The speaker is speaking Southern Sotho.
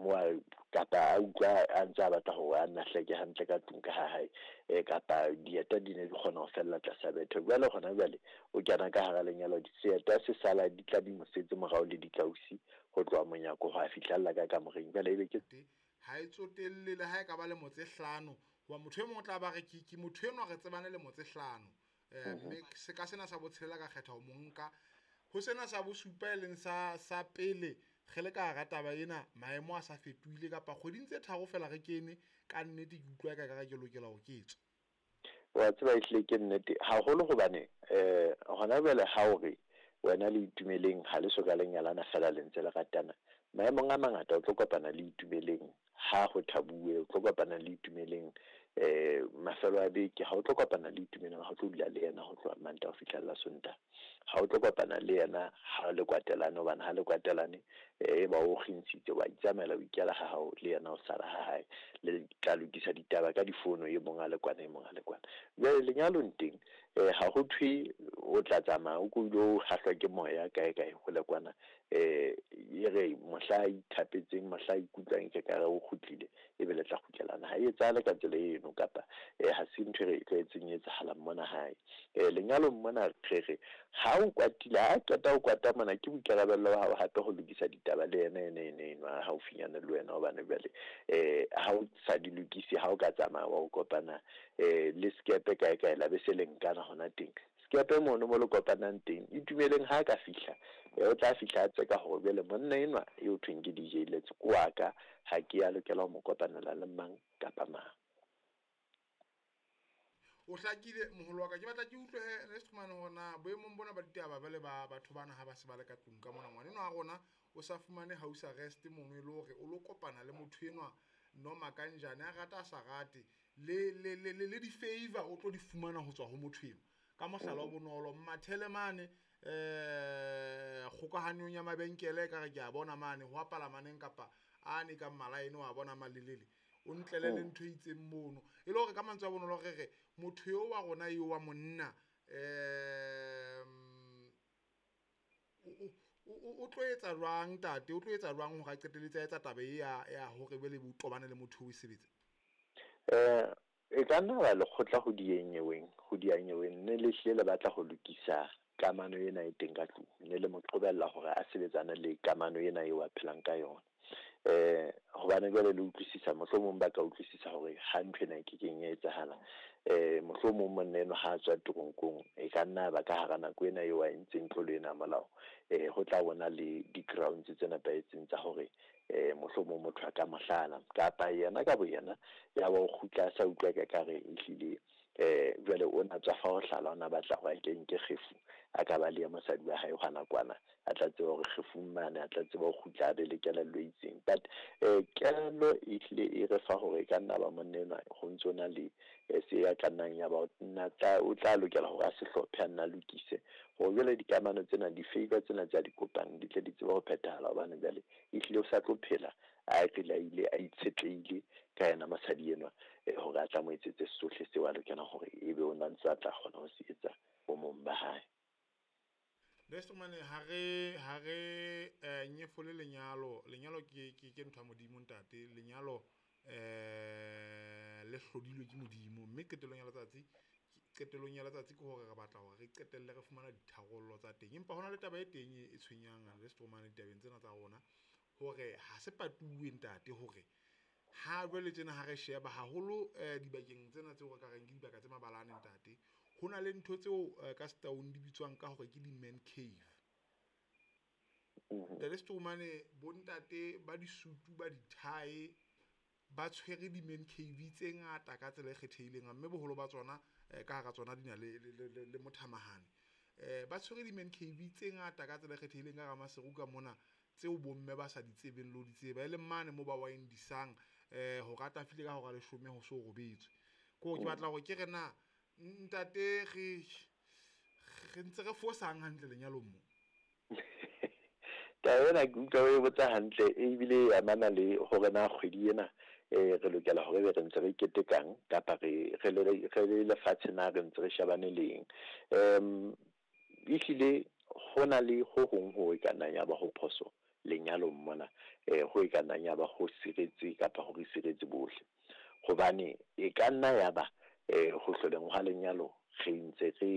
Mo kapa a utlwa a ntse a batla hore a nna hleke hantle ka tlung ka ha hae, kapa dieta di ne di kgona ho fella tlasa bethe. Jwale hona jwale o kena ka hara lenyalo, seeta se sala di tla di mo setse morao le dikausi ho tloha monyako ho a fihlella ka kamoreng. Jwale ebe ke Ha e tsotelle le ha e ka ba lemo tse 5, hoba motho e mong o tla ba re ke motho enwa re tsebane lemo tse 5. Mme se ka sena sa botshelela ka kgetha ho mo nka. Ho sena sa bosupa e leng sa pele re le ka hara taba ena, maemo a sa fetohile kapa kgweding tse 3 fela re kene, ka nnete ke utlwa eka ka ke lokela ho ke tswe. Wa tseba ehlile ke nnete haholo hobane hona jwale ha o re wena le Itumeleng ha le soka le nyalana fela le ntse le ratana, maemong a mangata o tlo kopana le Itumeleng ha ho thabuwe, o tlo kopana le Itumeleng mafelo a beke, ha o tlo kopana le Itumeleng ha o tlo dula le yena ho tloha Mantaha ho fihla la Sontaha, ha o tlo kopana le yena ha le kwatelane, hobane ha le kwatelane e ba o kgintshitse wa itsamaela o ikela ha hao le yena o sala ha hae, le tla lokisa ditaba ka difono, e mong a le kwana e mong a le kwana. Jwale lenyalong teng ha ho thwe o tla tsamaya o ko o hahlwa ke moya kae kae ho le kwana, e re mohla a ithapetseng, mohla a ikutlwang ke ka re o kgutlile, ebe le tla kgutlelana. Ha e etsahale ka tsela eno, kapa ha se ntho e re tlwaetseng e etsahalang mona hae. Lenyalong mona re re ha o kwatile, ha qeta ho kwata mona, ke boikarabello ba hao hape ho lokisa ditaba le yena ene ene enwa haufinyane le wena, hobane jwale ha o sa di lokise, ha o ka tsamaya wa o kopana le skepe kae kae la be se le nkana hona teng. Skepe mono mo le kopanang teng, Itumeleng ha ka fihla, o tla fihla a tseka hore jwale monna enwa eo thweng ke DJ Lets ke wa ka, ha ke ya lokela ho mo kopanela le mang kapa mang. O hlakile moholo wa ka, ke batla ke utlwe he le fumane hore na boemong bona ba ditaba ba le ba batho bana ha ba se ba le ka tlung ka mona, ngwana enwa wa rona o sa fumane house arrest mono e le hore o lo kopana le motho enwa noma kanjane, a rata a sa rate, le di-favor o tlo di fumana ho tswa ho motho enwa. Ka mohlala o bonolo, Mmathele mane kgokahanyong ya mabenkele ka re ke a bona mane ho apala maneng kapa a ne ka mmalaene wa bona malelele, o ntlele le ntho e itseng mono, e le hore ka mantswe a bonolo re re motho eo wa rona eo wa monna o tlo etsa jwang ntate, o tlo etsa jwang hore a qetelletse a etsa taba e ya hore be le tobane le motho o e sebetse? E ka nna ba lekgotla ho dinyeweng, ho dianyeweng ne le hlile le batla ho lokisa kamano ena e teng ka tlung, ne le mo qobella hore a sebetsane le kamano ena eo a phelang ka yona. Hobane jwale le utlwisisa, mohlomong ba ka utlwisisa hore ha ntho ena e kekeng ya etsahala, mohlomong monna enwa ha a tswa teronkong, e ka nna ba ka hara nako ena eo a entseng tlolo ena ya molao, ho tla bona le di-grounds tse nepahetseng tsa hore mohlomong motho a ka mohlala, kapa yena ka boyena ya ba o kgutla a sa utlwa ka kare ehlile jwale o na tswa fa ho hlala, o na batla hore a ke nke kgefu, a ka ba le ya mosadi wa hae hona kwana, a tla tseba hore kgefung mane a tla tseba ho kgutla a be le kelello e itseng. But kelello e hlile e re fa hore e ka nna ba monna enwa ho ntso na le se ya ka nnang ya ba o tla lokela hore a se hlophe, a nna lokise hore jwale dikamano tsena, di-favor tsena tse a di kopang di tle di tsebe ho phethahala, hobane jwale ehlile o sa tlo phela a ile a itshetlehile ka yena mosadi enwa hore a tla mo etsetse sohle seo a lokelang hore ebe o na ntse a tla kgona ho se etsa bomong ba hae. Lesomane ha re nyefole lenyalo, lenyalo ke ntho ya Modimo ntate, lenyalo le hlodilwe ke Modimo, mme qetellong ya letsatsi ke hore re batla hore re qetelle re fumana ditharollo tsa teng. Empa hona le taba e teng e tshwenyang Lesomane ditabeng tsena tsa rona, hore ha se patuwe ntate hore ha jwale tjena ha re sheba haholo dibakeng tsena tseo re ka reng ke dibaka tse mabalane ntate, ho na le ntho tseo ka Setaung di bitswang ka hore ke di-man cave. Ntate Stromane, bontate ba disutu ba dithae ba tshwere di-man cave tse ngata ka tsela e kgethehileng, mme boholo ba tsona ka hara tsona di na le mothamahane. Ba tshwere di-man cave tse ngata ka tsela e kgethehileng ka hara Maseru ka mona, tseo bomme ba sa di tsebeng le ho di tseba, e leng mane mo ba windisang ho rata file ka hora 10 ho so robetswe. Ko ke batla hore ke re na ntate re ntse re fosang hantle lenyalong mo? Taba ena ke utlwa o e botsa hantle, ebile e amana le hore na kgwedi ena re lokela hore be re ntse re ketekang kapa re le lefatshe na re ntse re shebane le eng. Ehlile ho na le ho hong ho e ka nnang ya ba ho phoso lenyalong mona ho e ka nnang ya ba ho siretse kapa ho re siretse bohle. Hobane e ka nna ya ba ho hloleng hwa lenyalo re ntse re.